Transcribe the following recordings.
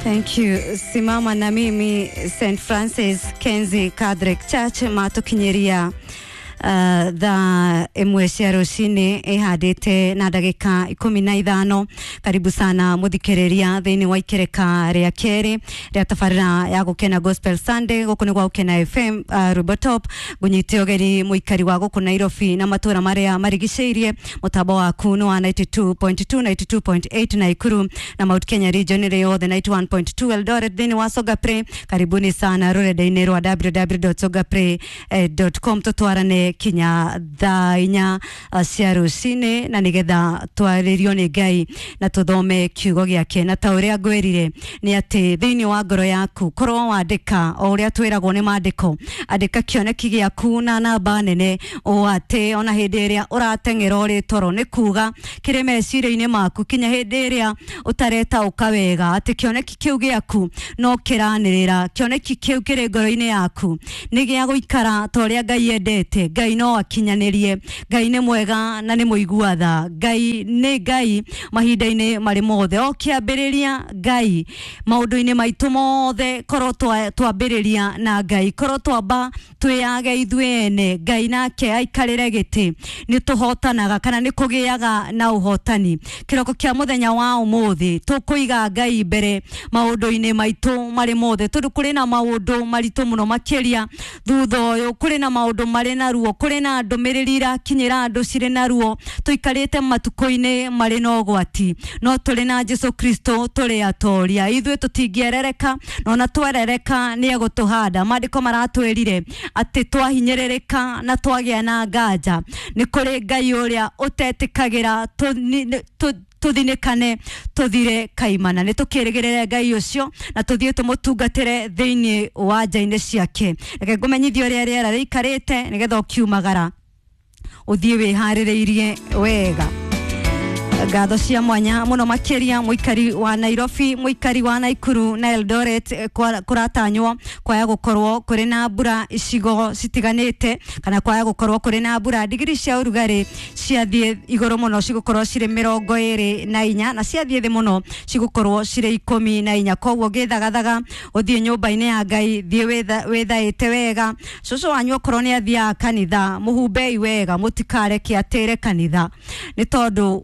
Thank you. Simama na mimi St Francis Kenzi Catholic Church matukinyiria thaa ĩmwe cia rũcinĩ ĩhandĩte na ndagĩka 15. Karibu sana mũthikĩrĩria thĩinĩ wa ikereka rĩa kerĩ rĩa tabarĩra ya Gũkena Gospel Sunday. Gũkũ nĩ gwa Gũkena FM, Rwĩmbo Top. Ngũnyite ũgeni mũikari wa gũkũ Nairobi na matũra marĩa marigicĩirie. Mũtambo waku nĩ wa 92.2, 92.8 Naikuru na Mount Kenya region ĩrĩ yothe, 91.2 Eldoret thĩinĩ wa Songa Play. Karibuni sana rũrenda-inĩ rwa www.songapray.com. Tũtwarane kinya thaa 4 cia rũcinĩ na nĩgetha twarĩrio nĩ Ngai na tũthome kiugo gĩake. Na ta ũrĩa ngwĩrire nĩ atĩ thĩinĩ wa ngoro yaku korwo wandĩka o ũrĩa twĩragwo nĩ maandĩko, andĩka kĩoneki gĩaku na namba nene, o atĩ ona hĩndĩ ĩrĩa ũrateng'era ũrĩ toro, nĩ kuga kĩrĩ meciria-inĩ maku kinya hĩndĩ ĩrĩa ũtaretaũka wega atĩ kĩoneki kĩu gĩaku no kĩranĩrĩra. Kĩoneki kĩu kĩrĩ ngoro-inĩ yaku nĩ gĩa gũikara ta ũrĩa Ngai endete. Ngai no akinyanĩrie. Ngai nĩ mwega na nĩ mũigua tha. Ngai nĩ Ngai mahinda-inĩ marĩ mothe. O kĩambĩrĩria Ngai maũndũ-inĩ maitũ mothe, korwo twambĩrĩria na Ngai, korwo twamba twĩyage ithuĩ ene, Ngai nake aikarĩre gĩtĩ, nĩ tũhotanaga kana nĩ kũgĩaga na ũhotani. Kĩroko kĩa mũthenya wa ũmũthĩ tũkũiga Ngai mbere maũndũ-inĩ maitũ marĩ mothe, tondũ kũrĩ na maũndũ maritũ mũno makĩria thutha ũyũ. Kũrĩ na maũndũ marĩ na ruo, kũrĩ na ndũmĩrĩri irakinyĩra andũ cirĩ na ruo. Tũikarĩte matukũ-inĩ marĩ na ũgwati, no tũrĩ na Jesu Kristo tũrĩ atoria. Ithuĩ tũtingĩerereka, na ona twerereka nĩ egũtũhanda. Maandĩko maratwĩrire atĩ twahinyĩrĩrĩka na twagĩa na nganja, nĩ kũrĩ Ngai ũrĩa ũtetĩkagĩra tũthinĩkane tũthire kaimana. Nĩ tũkĩrĩgĩrĩre Ngai ũcio na tũthiĩ tũmũtungatĩre thĩinĩ wa nja-inĩ ciake. Reke ngũmenyithie ũrĩa rĩera rĩikarĩte nĩgetha ũkiumagara ũthiĩ wĩharĩrĩirie wega. Ngatho cia mwanya mũno makĩria mũikari wa Nairobi, mũikari wa Naikuru na Eldoret. Kũratanywo kwaya gũkorwo kũrĩ na mbura icigo citiganĩte kana kwaya gũkorwo kũrĩ na mbura. Ndigiri cia ũrugarĩ ciathiĩ igũrũ mũno cigũkorwo cirĩ 24, na ciathiĩ thĩ mũno cigũkorwo cirĩ 14. Koguo ngĩthagathaga ũthiĩ nyũmba-inĩ ya Ngai, thiĩ wĩthaĩte wega. Cũcũ wanyu okorwo nĩ athiaga kanitha, mũhumbei wega, mũtikareke atĩre kanitha, nĩ tondũ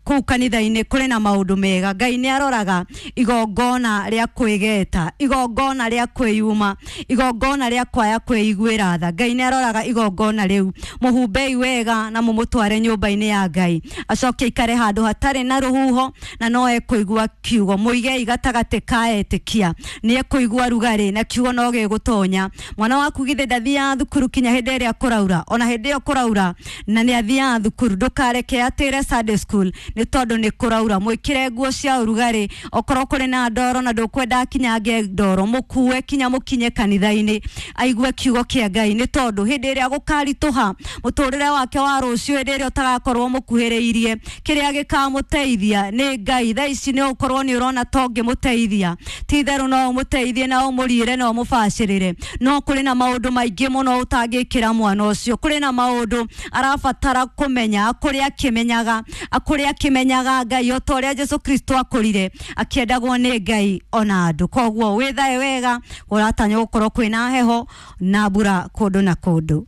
kũu kanitha-inĩ kũrĩ na maũndũ mega. Ngai nĩ aroraga igongona rĩa kwĩgeta, igongona rĩa kwĩyuma, igongona rĩa kwaya kwĩiguĩra tha. Ngai nĩ aroraga igongona rĩu. Mũhumbei wega na mũmũtware nyũmba-inĩ ya Ngai, acoke aikare handũ hatarĩ na rũhuho na no ekũigua kiugo. Mũigei gatagatĩ ka etĩkia, nĩ ekũigua rugarĩ na kiugo no gĩgũtonya. Mwana waku githĩ ndathiaga thukuru kinya hĩndĩ ĩrĩa kũraura? Ona hĩndĩ ĩyo kũraura na nĩ athiaga thukuru, ndũkareke atĩre Sunday school nĩ tondũ nĩ kũraura. Mwĩkĩre nguo cia ũrugarĩ. Okorwo kũrĩ na ndoro na ndũkwenda akinyange ndoro, mũkue kinya mũkinye kanitha-inĩ aigue kiugo kĩa Ngai, nĩ tondũ hĩndĩ ĩrĩa gũkaritũha mũtũrĩre wake wa rũciũ, hĩndĩ ĩrĩa ũtagakorwo mũkuhĩrĩirie, kĩrĩa gĩkamũteithia nĩ Ngai. Thaa ici nĩ ũkorwo nĩ ũrona ta ũngĩmũteithia, ti itherũ no ũmũteithie na ũmũriĩre na ũmũbacĩrĩre, no kũrĩ na maũndũ maingĩ mũno ũtangĩkĩra mwana ũcio. Kũrĩ na maũndũ arabatara kũmenya, akũrĩ akĩmenyaga, akũrĩ akĩmenyaga Ngai o ta ũrĩa Jesu Kristo akũrire akĩendagwo nĩ Ngai ona andũ. Koguo wĩthae wega, kũratanywo gũkorwo kwĩna heho na mbura kũndũ na kũndũ.